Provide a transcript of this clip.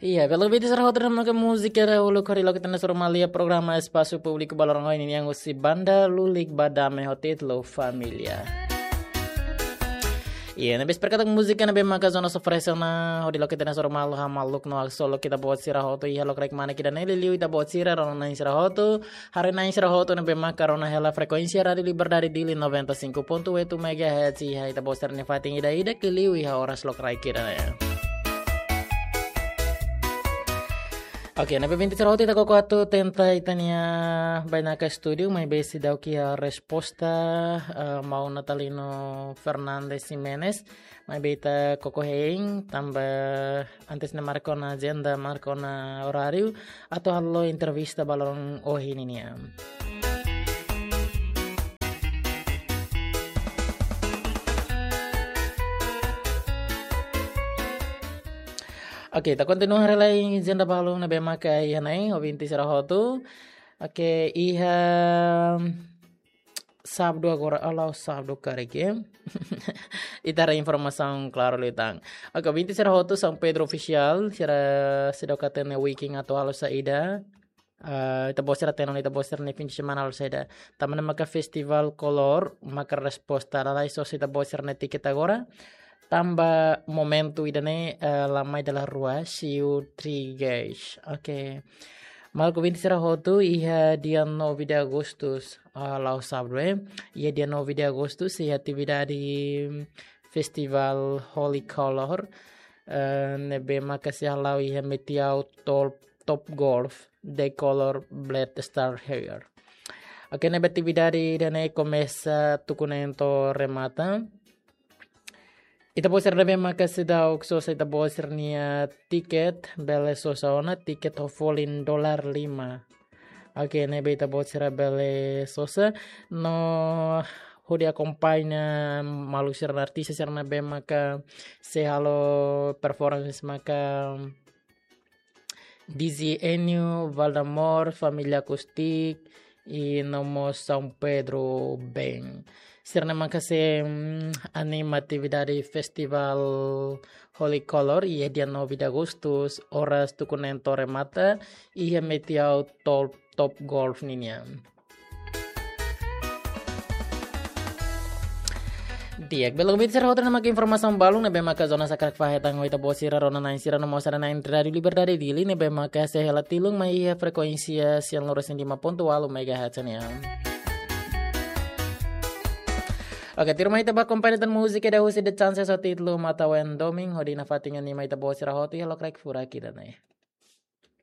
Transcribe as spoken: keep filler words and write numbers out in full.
Iya, belo ouvinte sira hotu, ne'e maka múzika dahuluk hodi loke ita-nia Soru Malu iha programa Espasu Públiku ba loron ohin nian, husi banda Lulik ba Dame ho títulu Família. Iya, ne'ebé espera katak múzika ne'ebé maka Jonas oferese ona hodi loke ita-nia Soru Malu hamaluk no haksolok ita-boot sira hotu iha lokraik manek ida-ne'e, liuliu ita-boot sira rona-na'in sira hotu, haree-na'in sira hotu ne'ebé maka rona hela frekuénsia Rádiu Liberdade Dili noventa e cinco ponto oito megahertz iha ita-boot sira-nia fatin ida-idak, liuliu iha oras lokraik ida-ne'e. Oke, ne'ebé ouvinte sira hotu, ita koko atu tenta ita-nia bainaka estúdiu, maibé seidauk iha resposta, eh, maun Natalino Fernandes Ximenes, maibé ita koko hein, tanba antes ne'e marka ona ajenda, marka ona oráriu, atu halo entrevista ba loron ohin nian. Oke, ita kontinua haree lai ajenda balu ne'ebé maka iha ne'e, ouvinte sira hotu. Oke, iha Sábadu agora, halo Sábadu karik, eh. Ita haree informasaun klaru liután. Oke, ouvinte sira hotu, São Pedro Official, sira seidauk hatene weekend atu halo saida. Eh, ita-boot sira hatene, ita-boot sira-nia fim de semana halo saida. Tanba ne'e maka Festival Color maka resposta, lalais sosa ita-boot sira-nia tiket agora. Tanba momentu ida-ne'e, eh, la mai dala rua, siu trigais. Oke. Maluk ouvinte sira hotu, iha dia nove de Agosto, ah, la'o Sábadu, eh. Iha dia nove de Agosto, iha atividade Festival Holy Color, eh, ne'ebé maka sei hala'o iha Metiau Top, Top Golf, The Color Blade Star Hair. Oke, ne'ebé atividade ida-ne'e komesa tuku neen to'o remata. Ita-boot sira ne'ebé maka seidauk sosa ita-boot sira-nia tiket, bele sosa ona, tiket ho folin dolar lima. Oke, ne'ebé ita-boot sira bele sosa, no hodi akompaña maluk sira, artista sira ne'ebé maka sei halo performance maka D J Enio, Valdemar, Família Acústica, i no mós São Pedro Band. Sira-ne'e maka sei, mm, anima atividade Festival Holy Color, iha dia nove de Agosto, oras tuku neen to'o remata, iha Metiau Top, Top Golf ninian. Di'ak, belo ouvinte sira hotu, ne'e maka informasaun balun ne'ebé maka Jonas hakarak fahe tan ho ita-boot sira rona-na'in sira no mós haree-na'in Rádiu Liberdade Dili ne'ebé maka sei hela tilun mai iha frekuénsia cento e cinco ponto oito megahertz nian. Oke, tuirmai ita bá akompaña tan múzika ida husi The Chances ho títulu Mata Wen Doming, hodi nafatin anima ita-boot sira hotu iha lokraik furak ida-ne'e.